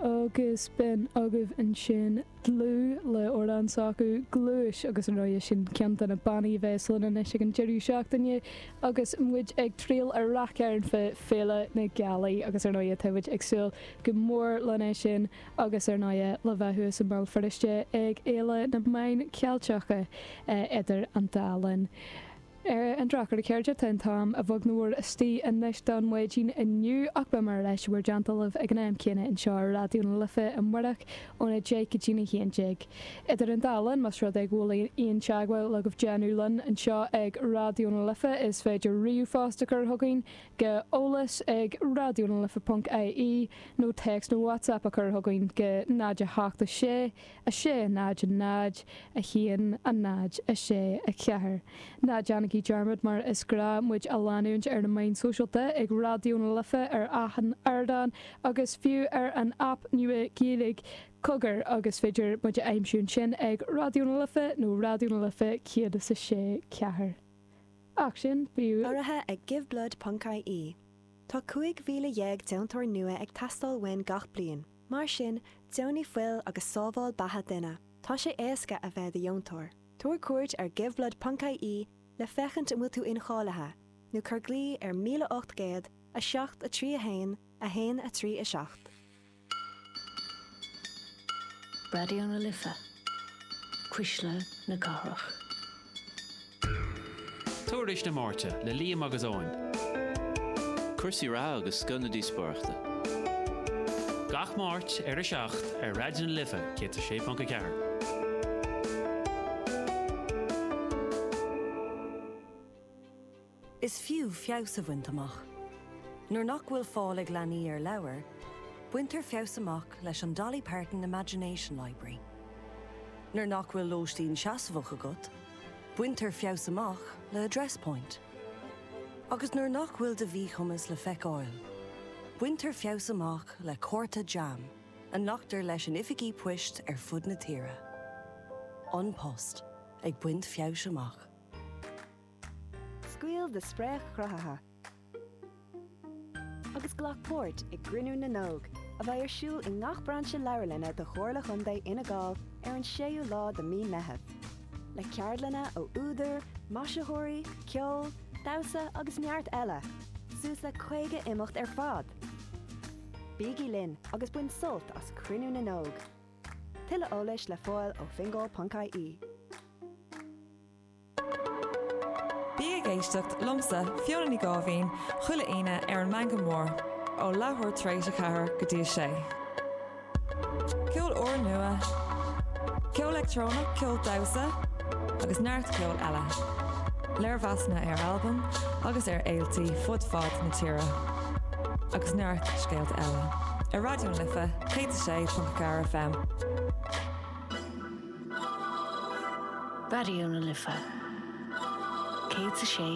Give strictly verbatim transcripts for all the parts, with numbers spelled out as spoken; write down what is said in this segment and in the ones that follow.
Agus b'in agaibh ansin dlúth le amhrán s'acu Gluais agus ar ndóigh sin ceann de na bannaí a bheas linn anois ag an deireadh seachtaine agus muid ag triall ar Rath Cairn fá Féile na Gealaí agus ar ndóigh tá muid ag súil go mór lena sin agus ar ndóigh le bheith thuas i mBéal Feirste ag Fhéile na Meán Ceilteacha idir an dá linn. Ar an drochuair a chairde tá an t-am a bheag nó a mhór istigh anois don mhaidin inniu ach beidh mé ar ais i bhur dteannta libh ag an am céanna anseo ar Raidió na Life amárach óna deich go dtí a haon déag. Idir an dá linn más rud é go bhfuil aon teagmháil agaibh déanamh linn anseo ag Raidió na Life is féidir ríomhphost a chur chugainn go eolas ag raidió na life ponc ie nó téacs nó WhatsApp a chur chugainn go náid a hocht a sé a sé náid a náid a haon a náid a sé a ceathair. Ná déanaigí dearmad mar is gnách muid a leanúint ar na meáin sóisialta ag Raidió na Life ar achan ardán agus fiú ar an aip nua Gaeilge Cogar agus féidir muid a aimsiú ansin ag Raidió na Life nó Raidió na Life céad is a sé ceathair. Ach sin bíú Urraithe ag giveblood.ie. Tá cúig mhíle dhéag deontóir nua ag teastáil uainn gach bliain. Mar sin, deonaigh fuil agus sábháil beatha duine. Tá sé éasca a bheith i do dheontóir. Tabhair cuairt ar giveblood.ie le féachaint an bhfuil tú incháilithe, nó cuir glao ar míle ocht gcéad a seacht a trí a haon a haon a trí a seacht. Raidió na Life, Cuisle na Cathrach. Tuairisc na Máirte le Liam agus Eoin. Cúrsaí reatha agus scoth na díospóireachta. Gach Máirt ar a seacht ar Raidió na Life céad a sé ponc a ceathair. Is fiú feabhas a bhaint amach. Nuair nach bhfuil fáil ag leanaí ar leabhair, baintear feabhas amach leis an Dolly Parton Imagination Library. Nuair nach bhfuil lóistín seasmhach agat, baintear feabhas amach le Address Point. Agus nuair nach bhfuil do mhíchumas le feiceáil, baintear feabhas amach le cárta JAM a nglactar leis in oifigí poist ar fud na tíre. An Post, ag baint feabhais amach. Scaoil do spréach chruthaithe agus glac páirt i gCruinniú na nÓg, a bheidh ar siúl i ngach brainse leabharlainne de Chomhairle Chontae Fhine Gall ar an séú lá de mí Meitheamh. Le ceardlanna ó údair, maisitheoirí, ceol, damhsa agus neart eile, suas le caoga imeacht ar fad! Bígí linn agus bain sult as Cruinniú na nÓg! Tuilleadh eolais le fáil ó fingal.ie. Bí ag éisteacht liomsa Fiona Ní Gáibhín chuile Aoine ar an Meangadh Mór ó leathuair tar éis a ceathair go dtí a sé. Ceol úrnua, ceol leictreonach, ceol damhsa agus neart ceol eile. Léirmheasanna ar albaim agus ar fhéiltí fud fad na tíre. Agus neart scéalta eile. Ar Raidió na Life céad a sé ponc a ceathair FM. Raidió na Life céad a sé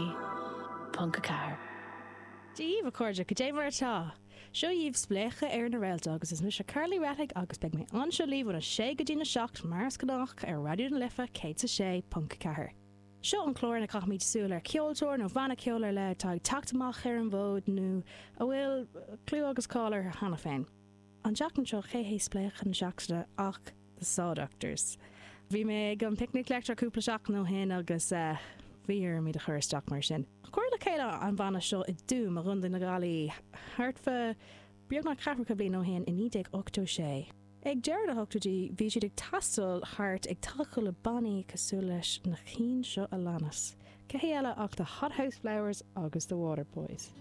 ponc a ceathair. Dia dhaoibh a chairde, cad é mar atá? Seo dhaoibh Spléachadh ar na Réalta agus is mise Carly Rettig agus beidh mé anseo libh óna sé go dtí na seacht mar is gnách ar Raidió na Life céad a sé ponc a ceathair. Seo an clár ina gcaithimid súil ar cheoltóir nó banna ceoil ar leith atá ag teacht amach ar an bhfód nó a bhfuil clú agus cáil orthu cheana féin. An tseachtain seo cé hé spléachadh na seachtaine ach The Saw Doctors. Bhí mé ag an Picnic Leictreach cúpla seachtain ó shin agus bhí orm iad a chur isteach mar sin. Cuireadh le chéile an banna seo i dTuaim i gContae na Gaillimhe thart fá beagnach ceathracha bliain ó shin i naoi déag ochtó sé. Ag deireadh na hochtóidí bhí siad ag taisteal thart ag tacú le bannaí cosúil leis na cinn seo a leanas. Cé hé eile ach The Hothouse Flowers agus The Waterboys.